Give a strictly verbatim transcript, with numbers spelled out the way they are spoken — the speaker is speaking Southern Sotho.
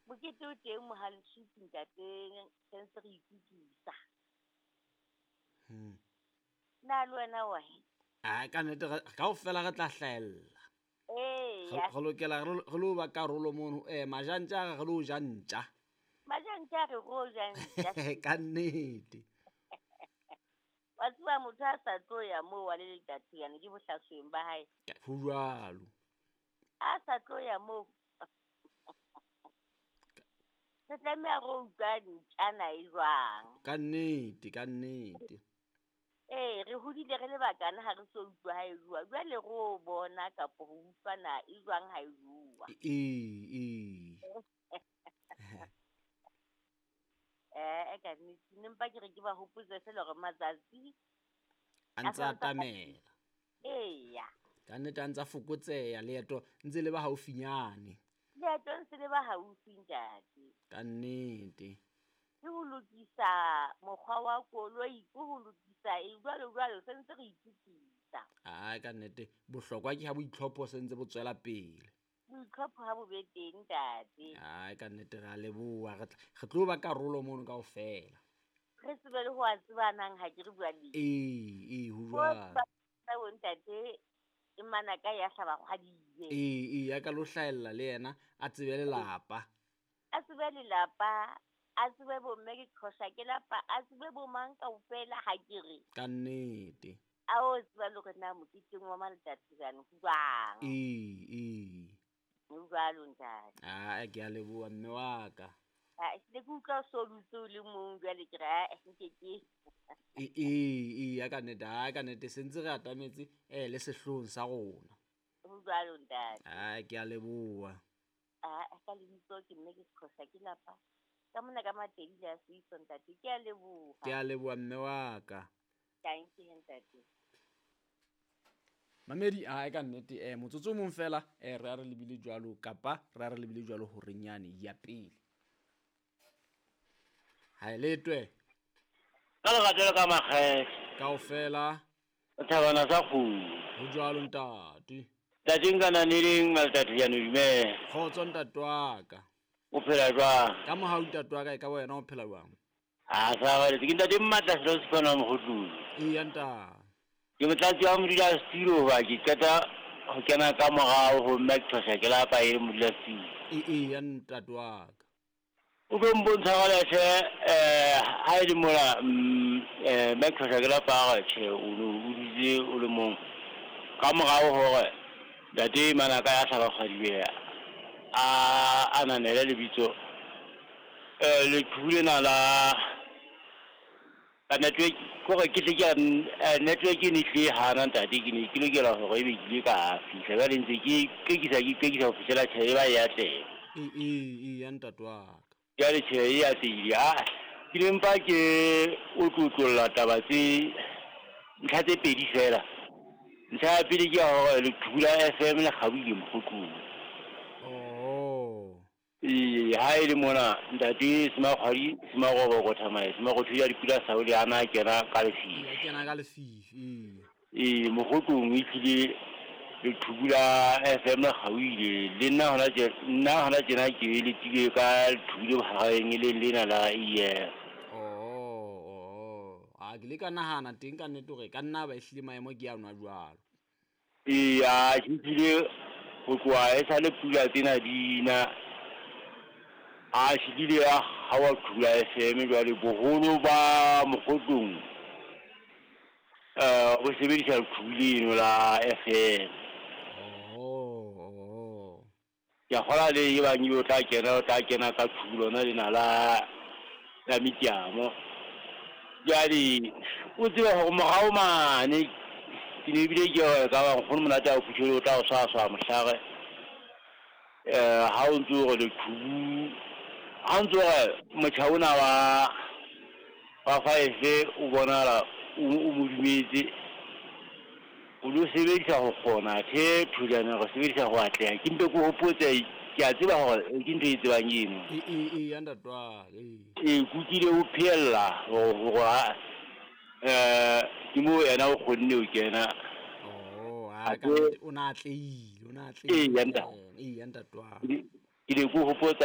Mokete o teng Mohalesupi ntate, sentse re ikutlwisa. Hmm. Na le wena wa? A ka nnete kaofela re tla hlahella. Ee. Re lokela re lo ba karolo mono. Eh majantja re lo ja ntja. Majantja re ro ja ntja. Ka nnete. Wa tseba motho a sa tlo ya moo wa le letatiyane ke bohlasweng ba hae. Ho jwalo. A sa tlo ya moo. Re tlameha re utlwa ntjana e jwang. Ka nnete, ka nnete. Ee, re hodile re le bakana ha re so utlwa ha e jwa. Jwale re o bona kapo ho utlwa na e jwang ha e jwa. Ee, ee. Eh, ka nnete ne mpa ke re ke ba hopotse feela hore matsatsi a ntse a atamela. Eya. Ka nnete a ntse a fokotseha leeto ntse le ba haufinyane. Leeto ntse le ba haufi ntate. Ka nnete. Ke ho lokisa mokgwa wa koloi, ke ho lokisa e jwalo jwalo se ntse re itukisa. Ah, ka nnete bohlokwa ke ha boitlhopho se ntse bo tswela pele. Boitlhopho ha bo be teng ntate. Ah, ka nnete re a leboha, re re tlo ba karolo mono kaofela. Re tsebe le ho a tsebanang ha ke re bua le. Ee, ee, ho jwalo. Bo ntate e mana ka ya hlaba kgwadiwe. Ee, ee, ya ka lo hlahella le yena a tsebe lelapa. A tsebe lelapa. A tsebe bo mme ke qhosha ke lapa, a tsebe bo mang kaofela ha ke re. Ka nnete. A o tseba le hore na moketeng wa Maletatiane ho jwang. Ee, ee. Ho jwalo ntate. Ah, ke a leboha mme wa ka. Ah, ke ke utlwa o so dutse o le mong jwale ke re ah, nke ke. Ee, ee, ya ka nnete, ah, ka nnete se ntse re atametse eh le sehloohong sa rona. Ho jwalo ntate. Ah, ke a leboha. Ah, ka lebitso ke mme ke qhosha ke lapa. Ka mona ka Matedi le a Seiso ntate, ke a leboha. Ke a leboha mme wa ka. Thank you ntate. Mamedi a ka nnete eh motsotso mong fela eh re a re lebile jwalo kapa re a re lebile jwalo hore nyane ya pele. Ha letwe. Ka lerato le ka makgethe. Kaofela. Thabana sa kgudu. Ho jwalo ntate. Ntate nka naneleng Maletatiane dumela. Kgotso ntate wa ka. O phela jwang? Ka mohau ntate wa ka e ka wena o phela jwang? A sa ba le ke ntate Mmatla selo se fana mogotlong. Ee ntate. Ke motlatsi wa modulasetulo hoba ke qeta ho kena ka morao ho mme ke qhosha ke lapa e le modulasetulo. Ee ee ntate wa ka. O tlo mpontsha jwale tjhe eh ha e le mola eh mme ke qhosha ke lapa hore tjhe o no o dutse o le mong. Ka morao hore ntate Manaka ya hlaba kgwadiwe a ananele lebitso eh leqhubu lena la ka network kore ke tle ke network e ne tlile hana ntate ke ne ke lokela hore ebe ke ile ka fihla jwale ntse ke qekisa ke qekisa ho fihlela tjhe e ba e atleha. Ee ee ee ntate wa ka. Jwale tjhe e atlehile ha ke ne mpa ke o tlotlolla taba tse ntlha tse pedi fela. Ntlha ya pele ke ya hore leqhubu la F M le kgaohile Mokgotlong. Oh. Ee, ha e le mona ntate Semakgwadi Semaroboko Thamae Semarotho ya dipula Saole a na kena ka lefifi. Ya kena ka lefifi. Ee. Ee, Mokgotlong e tlile leqhubu la F M le kgaohile le nna hona tje nna hona tjena ke letile ka leqhubu le bohareng e leng lena la E F. Oh, oh. A ke le ka nahana teng ka nnete hore ka nna ba ehlile maemo ke a nwa jwalo. Ee, a ke tlile ho tloha e sale pula tsena di na a hlile ya hawa qhula F M jwale boholo ba Mokgotlong eh o sebedisa leqhubu leno la F M. Oh, oh. Ke a kgola le e bang o tla kena o tla kena ka qhubu lona lena la la Mitiamo. Jwale o tsebe hore morao mane ke ne ebile ke hore ka ba nkgono monate a o phuthele o tla o swaswa mohlare eh ha o ntso hore leqhubu ha o ntso hore motjha ona wa wa five o bonahala o mo dumetse o lo sebedisa ho kgona the thulana re sebedisa ho atleha ke mpe ke hopotse ke a tseba hore ke ntho e tsebang eno. Ee ee ee ntate wa ka. Ee kukile o phehella hore eh ke mo yena o kgonne ho kena. Oh, a ka o na atlehile, o na atlehile. Ee ntate. Ee ntate wa ka. Ke ne ke hopotsa